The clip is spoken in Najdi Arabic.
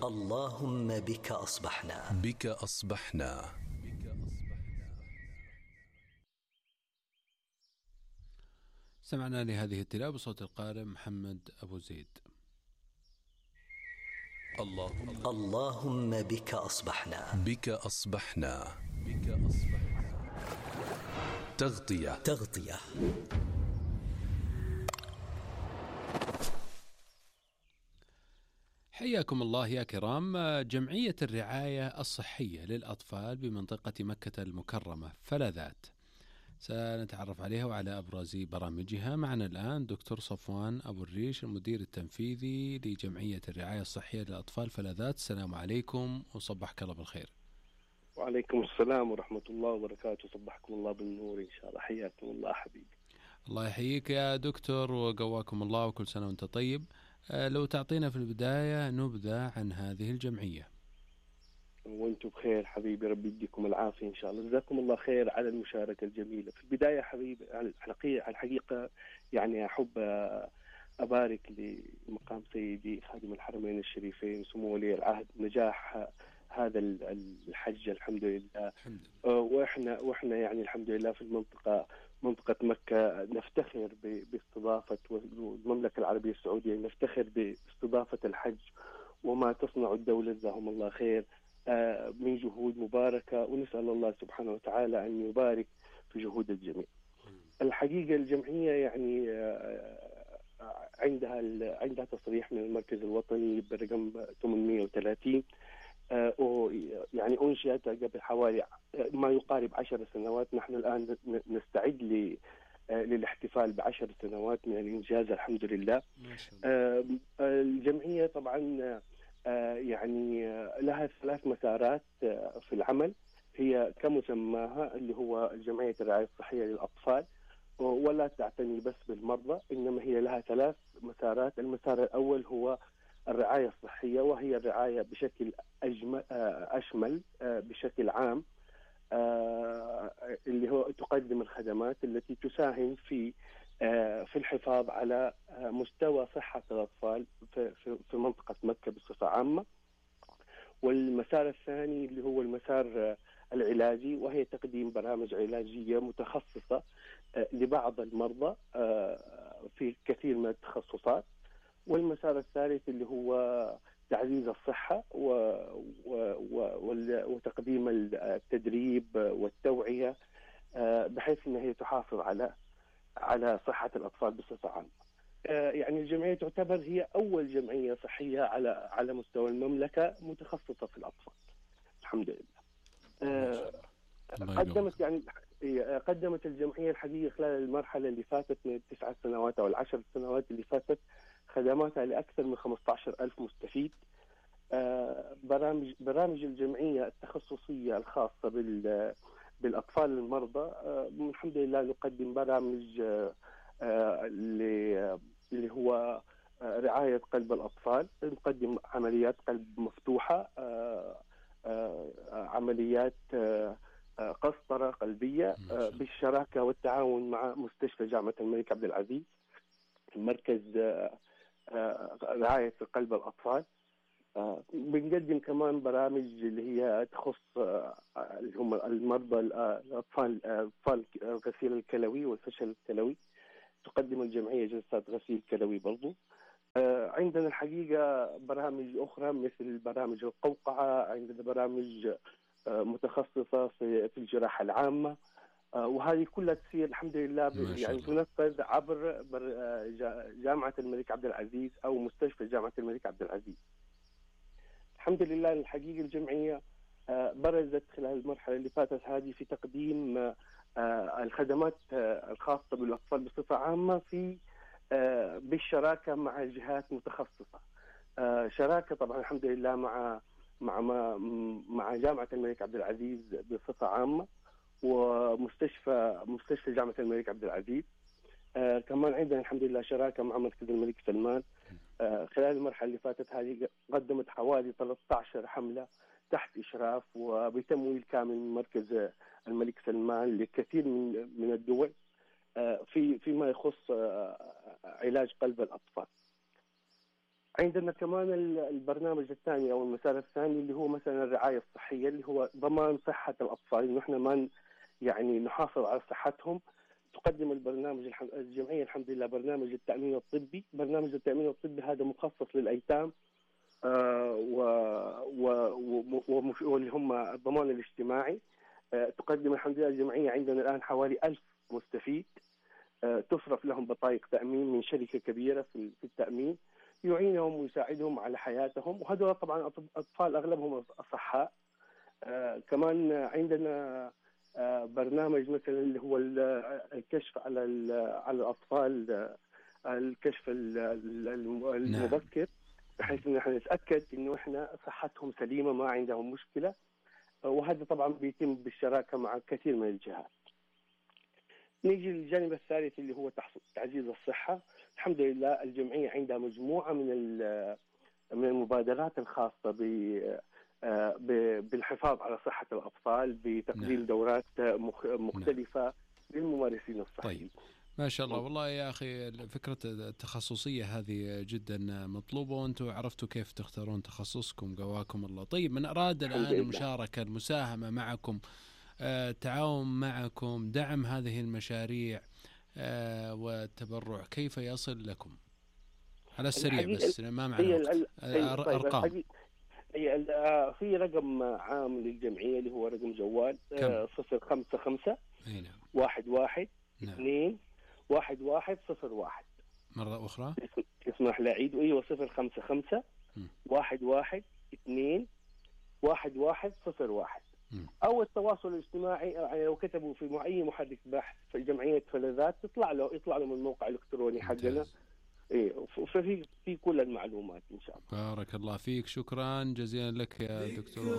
اللهم بك أصبحنا. سمعنا لهذه التلاوة بصوت القارئ محمد أبو زيد. اللهم بك أصبحنا. تغطية. حياكم الله يا كرام. جمعية الرعاية الصحية للأطفال بمنطقة مكة المكرمة فلذات سنتعرف عليها وعلى أبرز برامجها. معنا الآن دكتور صفوان أبو الريش المدير التنفيذي لجمعية الرعاية الصحية للأطفال فلذات. السلام عليكم وصبحك الله بالخير. وعليكم السلام ورحمة الله وبركاته. صبحكم الله بالنور إن شاء الله. حياكم الله حبيبي. الله يحييك يا دكتور وقواكم الله وكل سنة وانت طيب. لو تعطينا في البداية نبذة عن هذه الجمعية. وانتم بخير حبيبي، ربي يديكم العافية إن شاء الله. جزاكم الله خير على المشاركة الجميلة. في البداية حبيبي على الحقيقة يعني أحب أبارك لمقام سيدي خادم الحرمين الشريفين سمو ولي العهد نجاح هذا الحج الحمد لله. واحنا يعني الحمد لله في منطقة مكة نفتخر باستضافة، والمملكة العربية السعودية نفتخر باستضافة الحج وما تصنع الدولة جزاهم الله خير من جهود مباركة، ونسأل الله سبحانه وتعالى أن يبارك في جهود الجميع. الحقيقة الجمعية يعني عندها تصريح من المركز الوطني برقم 830 يعني أنشئت قبل حوالي ما يقارب 10 سنوات. نحن الآن نستعد للاحتفال ب10 سنوات من الإنجاز الحمد لله. الجمعية طبعا يعني لها 3 مسارات في العمل، هي كمسماها اللي هو جمعية الرعاية الصحية للأطفال، ولا تعتني بس بالمرضى، إنما هي لها 3 مسارات. المسار الأول هو الرعاية الصحية، وهي الرعاية بشكل أشمل بشكل عام، اللي هو تقدم الخدمات التي تساهم في الحفاظ على مستوى صحة الأطفال في منطقة مكة بصفة عامة. والمسار الثاني اللي هو المسار العلاجي، وهي تقديم برامج علاجية متخصصة لبعض المرضى في كثير من التخصصات. والمسار الثالث اللي هو تعزيز الصحة وتقديم التدريب والتوعية بحيث أنها تحافظ على صحة الأطفال بصفة عامة. يعني الجمعية تعتبر هي أول جمعية صحية على مستوى المملكة متخصصة في الأطفال الحمد لله. قدمت الجمعية الحقيقة خلال المرحلة اللي فاتت من 9 سنوات أو 10 سنوات اللي فاتت خدماتها لأكثر من 15,000 مستفيد. برامج الجمعية التخصصية الخاصة بالأطفال المرضى، الحمد لله نقدم برامج اللي هو رعاية قلب الأطفال، نقدم عمليات قلب مفتوحة، عمليات قسطرة قلبية بالشراكة والتعاون مع مستشفى جامعة الملك عبد العزيز مركز رعاية قلب الأطفال. بنقدم كمان برامج اللي هي تخص اللي هم المرضى الأطفال الغسيل الكلوي والفشل الكلوي، تقدم الجمعية جلسات غسيل كلوي برضو. عندنا الحقيقة برامج أخرى مثل برامج القوقعة، عندنا برامج متخصصة في الجراحة العامة، وهذه كلها تصير الحمد لله يعني تنفذ عبر جامعة الملك عبد العزيز أو مستشفى جامعة الملك عبد العزيز. الحمد لله الحقيقة الجمعية برزت خلال المرحلة اللي فاتت هذه في تقديم الخدمات الخاصة بالأطفال بصفة عامة بالشراكة مع جهات متخصصة. شراكة طبعا الحمد لله مع جامعة الملك عبد العزيز بصفة عامة، ومستشفى جامعة الملك عبد العزيز. كمان عندنا الحمد لله شراكة مع مركز الملك سلمان. خلال المرحلة اللي فاتت هذه قدمت حوالي 13 حملة تحت إشراف وبتمويل كامل من مركز الملك سلمان لكثير من الدول فيما يخص علاج قلب الأطفال. عندنا كمان البرنامج الثاني أو المسار الثاني اللي هو مثلا الرعاية الصحية، اللي هو ضمان صحة الأطفال، إنه إحنا ما يعني نحافظ على صحتهم. تقدم الجمعية الحمد لله برنامج التأمين الطبي. برنامج التأمين الطبي هذا مخصص للأيتام واللي هم الضمان الاجتماعي. تقدم الحمد لله الجمعية عندنا الآن حوالي 1000 مستفيد، تصرف لهم بطايق تأمين من شركة كبيرة في التأمين، يعينهم ويساعدهم على حياتهم. وهذول طبعا أطفال أغلبهم أصحاء. كمان عندنا برنامج مثلا اللي هو الكشف على الأطفال، الكشف المبكر، بحيث إن احنا نتأكد إنه احنا صحتهم سليمة ما عندهم مشكلة. وهذا طبعا بيتم بالشراكة مع كثير من الجهات. نيجي للجانب الثالث اللي هو تعزيز الصحة. الحمد لله الجمعية عندها مجموعة من المبادرات الخاصة بالحفاظ على صحة الأطفال، بتقديم دورات مختلفة للممارسين الصحيين. طيب ما شاء الله، والله يا أخي فكرة التخصصية هذه جدا مطلوبة، وأنتم عرفتوا كيف تختارون تخصصكم، قواكم الله. طيب من أراد الآن المشاركة، المساهمة معكم، التعاون معكم، دعم هذه المشاريع والتبرع، كيف يصل لكم على السريع بس ما معنا أرقام؟ في رقم عام للجمعية اللي هو رقم جوال 055 11 2 1101. مرة أخرى اسمح لي أعيد. أيوة 055 11 2 1101. أو التواصل الاجتماعي، يعني لو كتبوا في أي محرك بحث في جمعية فلذات يطلع له من الموقع الإلكتروني حقنا. إيه، ففي كل المعلومات إن شاء الله. بارك الله فيك، شكرا جزيلا لك يا دكتور.